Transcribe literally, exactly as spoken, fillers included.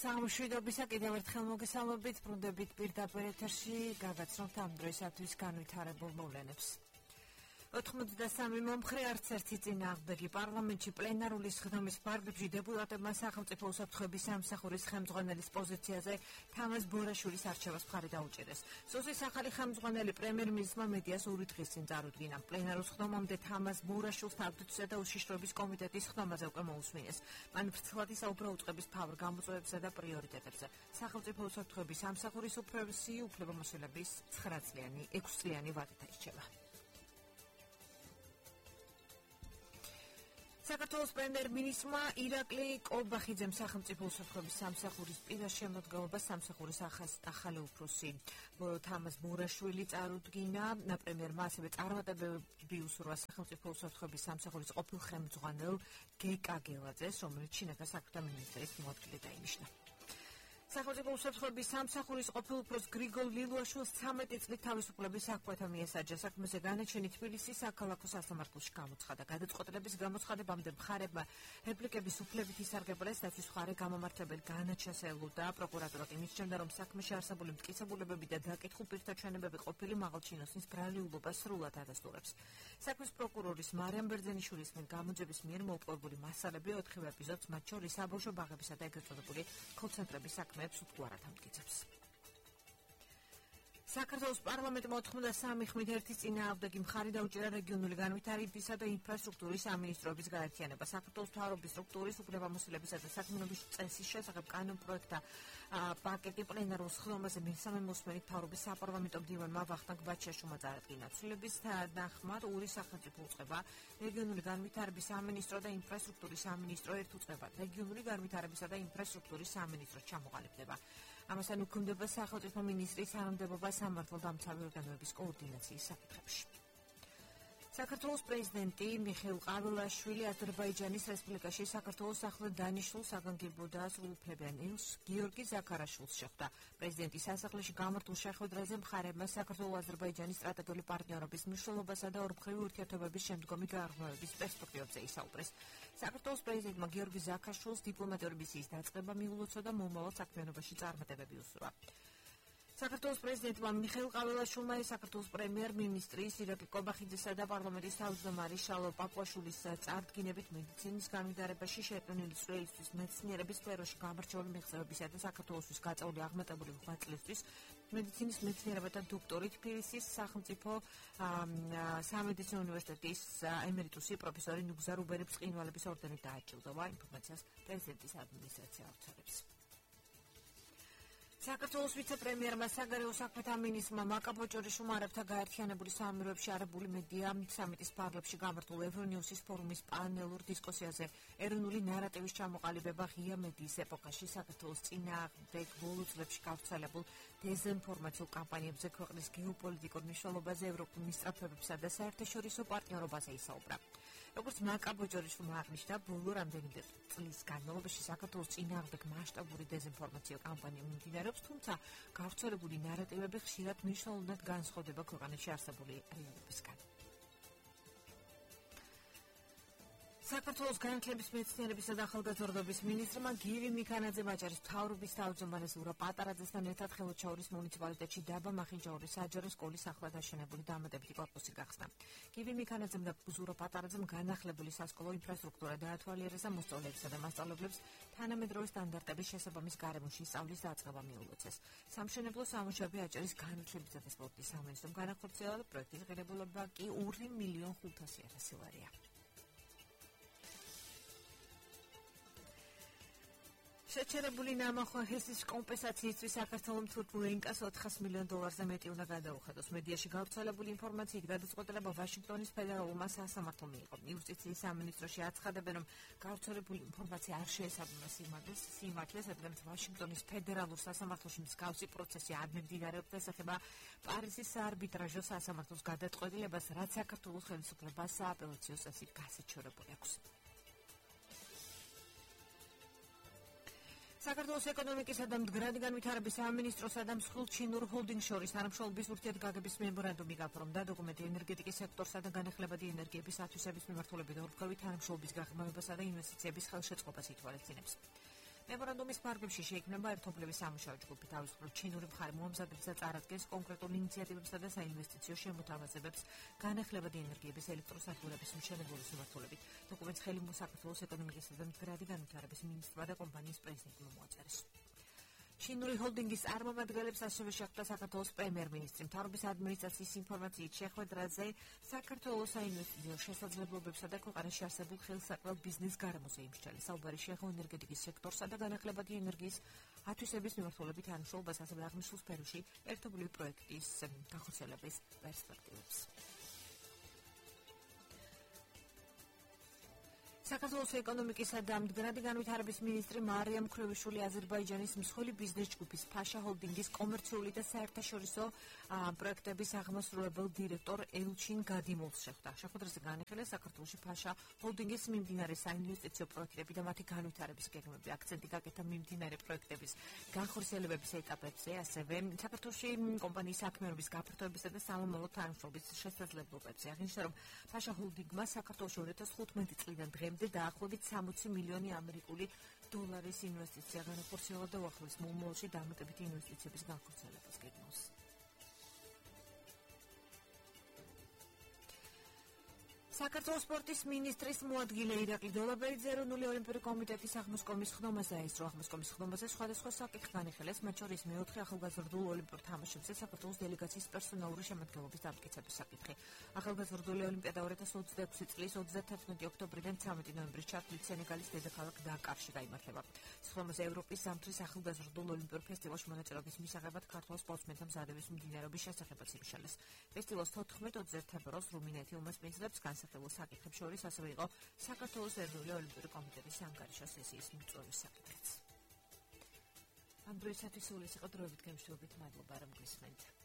სამშვიდობისა კიდევ ერთხელ მოგესალმებით, ბრუნდებით პირდაპირ ეთერში, გაგაცნობთ ამ დროისათვის განვითარებულ მოვლენებს. ოთხმოცდასამი მომხრე არც ერთი წინააღმდეგი პარლამენტში პლენარული სხდომის ფარგლებში დეპუტატებმა სახელმწიფო უსაფრთხოების სამსახურის ხელმძღვანელის პოზიციაზე თამაზ ბორაშვილის არჩევას მხარი დაუჭერეს. სოსის ახალი ხელმძღვანელი პრემიერ-მინისტრმა მედიას ორი დღის წინ წარუდგინა. პლენარულ სხდომამდე თამაზ ბორაშვილს თავდაცვისა და უშიშროების კომიტეტის სხდომაზე უკვე მოусმინეს. მან ფრთხილად ისაუბრა უწყების მთავარ გამოწვევებსა და პრიორიტეტებზე. სახელმწიფო უსაფრთხოების სამსახურის უფროსი უფლებამოსილების ცხრაწლიანი, ექვსწლიანი ვადით აირჩევა. საქართველოს პრემიერ-მინისტრმა ირაკლი კობახიძემ სახელმწიფო უსაფრთხოების სამსახურის პირას შემოდგომას სამსახურის ახალი უფროსი თამაზ ბორაშვილი წარუდგინა. პრემიერმა ასევე წარმატებები უსურვა სახელმწიფო უსაფრთხოების სამსახურის ყოფილ ხელმძღვანელ გეკა გელაძეს, რომელიც შინაგან საქმეთა მინისტრის მოადგილედ დაინიშნა. სახელმწიფო უსაფრთხოების სამსახურის ყოფილ უფროს გრიგოლ ლილუაშვილს ცამეტი წლით თავისუფლების საქმეთა მიესაჯა. საქმეზე განაჩენი თბილისის საქალაქო სასამართლოში გამოცხადა. გადაწყვეტილების გამოცხადებამდე მხარებმა რეპლიკების უფლებით ისარგებლეს, დაცვის მხარე გამომართლებელი განაჩენს ელოდა. პროკურატურა კი მისჩნევდა, რომ საქმეში არსებული მტკიცებულებები და დაკითხულ პირთა ჩვენებები ყოფილი მაღალჩინოსნის ბრალეულობას სრულად ადასტურებს. საქმის პროკურორის მარიამ ბერძენიშვილის მიერ გამოძების მიერ მოპოვებული მასალები ოთხივე ეპიზოდს, მათ შორის საბავშვო ბაღებისა და ეგრეთ წოდებული კოლ-ცენტრების საქმეებს უდგარად ამტკიცებს. საქართველოს პარლამენტმა ოთხმოცდასამი ხმით ერთის წინააღმდეგი მხარი დაუჭირა რეგიონული განვითარებისა და ინფრასტრუქტურის სამინისტროების გაერთიანება. საქართველოს მთავრობის სტრუქტურის უფლებამოსილებისა და საქმიანობის წესის შესახებ კანონპროექტთა პაკეტი პლენარულ სხდომაზე მესამე მოსმენით მთავრობის საპარლამენტო მდივანმა ვახტანგ ბაჩაშვილმა წარადგინა. ცვლილების თანახმად ორი სახელმწიფო უწყება, რეგიონული განვითარების სამინისტრო და ინფრასტრუქტურის სამინისტრო ერთ უწყებად, რეგიონული განვითარებისა და ინფრასტრუქტურის სამინისტროს ჩამოყალიბდება. ამასთან უქმდება სახელმწიფო მინისტრის თანამდებობა სამართალდამცავი ორგანოების კოორდინაციის საკითხებში. საქართველოს პრეზიდენტი მიხეილ ყავილაშვილი აზერბაიჯანის რესპუბლიკაში საქართველოს ახლად დანიშნულ საგანგებო და სრულუფლებიან ელს გიორგი ზაქარაშვილს შეხვდა. პრეზიდენტის სასახლეში გამართულ შეხვედრაზე მხარებმა საქართველო-აზერბაიჯანის სტრატეგიული პარტნიორობის მნიშვნელობასა და ორმხრივი ურთიერთობების შემდგომი გააღრმავების პერსპექტივებზე ისაუბრეს. საქართველოს პრეზიდენტმა გიორგი ზაქარაშვილს დიპლომატიური მისიის დაწყება მიულოცა და მომავალ საქმიანობაში წარმატებები უსურვა. საქართველოს პრეზიდენტმა მიხეილ ყავილაშვილმა საქართველოს პრემიერ-მინისტრის ირაკლი კობახიძესა და პარლამენტის თავმჯდომარის შალო პაპუაშვილის წარდგინებით მედიცინის განვითარებაში შეეტანილი წვლილისთვის, მეცნიერების სფეროში გამორჩეული მიღწევებისა და საქართველოსთვის გაწეული აღმატებული ღვაწლისთვის მედიცინის მეცნიერებათა დოქტორი, თბილისის სახელმწიფო სამედიცინო უნივერსიტეტის ემერიტუსი პროფესორი ნუგზა რუბერებს-ყინვალების ორდენით დააჯილდოვა. ინფორმაციას პრეზიდენტის ადმინისტრაცია აუცილებს. საქართველოს ვიცე-პრემიერმა საგარეო საქმეთა მინისტრმა მაკაბოჭორიშვილმა არაბთა გაერთიანებული საამიროებში არაბული მედია სამიტის ფარგლებში გამართულ ევრონიუსის ფორუმის პანელურ დისკუსიაზე ეროვნული ნარატივის ჩამოყალიბება ღია მედიის ეპოქაში საქართველოს წინააღმდეგ ბოლო წლებში გავრცელებულ დეზინფორმაციულ კამპანიებზე ქვეყნის გეოპოლიტიკურ მნიშვნელობაზე, ევროპულ მისწრაფებებსა და საერთაშორისო პარტნიორობაზე ისაუბრა. როგორც მაკაბოჭორიშვილმა აღნიშნა, ბოლო რამდენიმე წლის განმავლობაში საქართველოს წინააღმდეგ მასშტაბური დეზინფორმაციო კამპანია მიმდინარეობს, თუმცა გავრცელებული ნარატივები ხშირად მნიშვნელოვნად განსხვავდება ქვეყანაში არსებული რეალობისგან. საქართველოს განათლების, მეცნიერებისა და ახალგაზრდობის მინისტრმა გივი მიქანაძემ აჭარის მთავრობის თავმჯდომარეს ლურა პატარაძესთან ერთად ხელოჩაურის მუნიციპალიტეტში დაბა მახინჯაურის საჯარო სკოლის ახლად აშენებული დამატებითი კორპუსი გახსნა. გივი მიქანაძემ და ლურა პატარაძემ განახლებული სასკოლო ინფრასტრუქტურა დაათვალიერეს და მოსწავლეებსა და მასწავლებლებს თანამედროვე სტანდარტების შესაბამის გარემოში სწავლის დაწყება მიულოცეს. სამშენებლო სამუშაოები აჭარის განათლებისა და სპორტის სამინისტრომ განახორციელა და პროექტის ღირებულება კი ორი მილიონ ხუთასი ათასი ლარია. შეჩერებული ნამახვა ჰესის კომპენსაციისთვის საქართველოს თურქულ ინკას ოთხას მილიონ დოლარზე მეტი უნდა გადაუხადოს. მედიაში გავრცელებული ინფორმაციით გადაწყვეტილება ვაშინგტონის ფედერალურმა სასამართლომ მიიღო. იუსტიციის სამინისტროში აცხადებენ, რომ გავრცელებული ინფორმაცია არ შეესაბამება სიმართლეს, რადგან ვაშინგტონის ფედერალურ სასამართლოში მსგავსი პროცესი არ მიმდინარეობს, ეხება პარიზის საარბიტრაჟო სასამართლოს გადაწყვეტილებას, რაც საქართველოს ხელისუფლებას სააპელაციო წესით გასაჩივრებული აქვს. საქართველოს ეკონომიკისა და მდგრადი განვითარების სამინისტროსა და მსხვილ ჩინურ ჰოლდინგს შორის თანამშრომლობის ურთიერთგაგების მემორანდუმი გაფორმდა. დოკუმენტი ენერგეტიკის სექტორსა და განახლებადი ენერგიების ათვისების მიმართულებით ორმხრივი თანამშრომლობის გაღრმავებასა და ინვესტიციების ხელშეწყობას ითვალისწინებს. მემორანდუმის ფარგლებში შეიქმნება ერთობლივი სამუშაო ჯგუფი, თავისუფლად ჩინური მხარე მოამზადებს და წარადგენს კონკრეტულ ინიციატივებსა და საინვესტიციო შემოთავაზებებს განახლებადი ენერგიების ელექტროსადგურების მშენებლობის მიმართულებით. დოკუმენტს ხელი საქართველოს ეკონომიკისა და მდგრადი განვითარების მინისტრმა და კომპანიის პრეზიდენტმა მოაწერეს. ჩინური ჰოლდინგის წარმომადგენლებს ასევე შეხვდა საქართველოს პრემიერ-მინისტრი. მთავრობის ადმინისტრაციის ინფორმაციით შეხვედრაზე საქართველოს საინვესტიციო შესაძლებლობებსა და ქვეყანაში არსებულ ხელსაყრელ ბიზნეს გარემოზე იმსჯელა. საუბარი შეეხო ენერგეტიკის სექტორსა და განახლებადი ენერგიის ათვისების მიმართულებით თანამშრომლობას, ასევე აღნიშნულ სფეროში ერთობლივი პროექტის განხორციელების პერსპექტივებს. საქართველოს ეკონომიკისა და მდგრადი განვითარების მინისტრი მარიამ მქრევიშვილი აზერბაიჯანის მსხვილი ბიზნეს ჯგუფის ფაშა ჰოლდინგის კომერციული და საერთაშორისო პროექტების აღმასრულებელ დირექტორ ელჩინ გადიმოვს შეხვდა. შეხვედრაზე განიხილეს საქართველოში ფაშა ჰოლდინგის მიმდინარე საინვესტიციო პროექტები და მათი განვითარების გეგმები. აქცენტი გაკეთა მიმდინარე პროექტების განხორციელებების ეტაპებზე, ასევე საქართველოში კომპანიის საქმიანობის გაფართოებისა და სამომავლო თანამშრომლობის შესაძლებლობებზე. აღნიშნა, რომ ფაშა ჰოლდინგმა საქართველოში ორი ათას ხუთმეტი წლიდან დღემდე დაახლოებით სამოცი მილიონი ამერიკული დოლარის ინვესტიცია განახორციელა და უახლოეს მომავალში დამატებითი ინვესტიციების განხორციელებას გეგმავს. საქართველოს სპორტის მინისტრის მოადგილე ირაკლი დოლაბერიძე ეროვნული ოლიმპიური კომიტეტის აღმოსკომის ხდომას დაესწრო. აღმოსკომის ხდომაზე სხვადასხვა საკითხი განიხილეს, მათ შორის მეოთხე ახალგაზრდულ ოლიმპიურ თამაშებზე საქართველოს დელეგაციის პერსონალური შემადგენლობის დამტკიცების საკითხი. ახალგაზრდული ოლიმპიადა ორი ათას ოცდაექვსი წლის ოცდათერთმეტი ოქტომბრიდან ცამეტი ნოემბრის ჩათვლით სენეგალის დედაქალაქ დაკარში გაიმართება. სხდომაზე ევროპის ზამთრის ახალგაზრდულ ოლიმპიურ ფესტივალში მონაწილეობის მისაღებად ქართველ სპორტსმენთა მზადების მიმდინარეობის შესახებაც იმშალეს. ფესტივალს თოთხმეტ ოცდაერთი თებერვალს რუმინეთი უმასპინძლებს განსახილველ საკითხებს შორის ასევე იყო საქართველოს ეროვნული ოლიმპიური კომიტეტის ანგარიშოს სესიის მიწვევის საკითხიც. ამ დროისათვის სულ ეს იყო დროებით გემშვიდობით, მადლობა რომ გვისმენთ.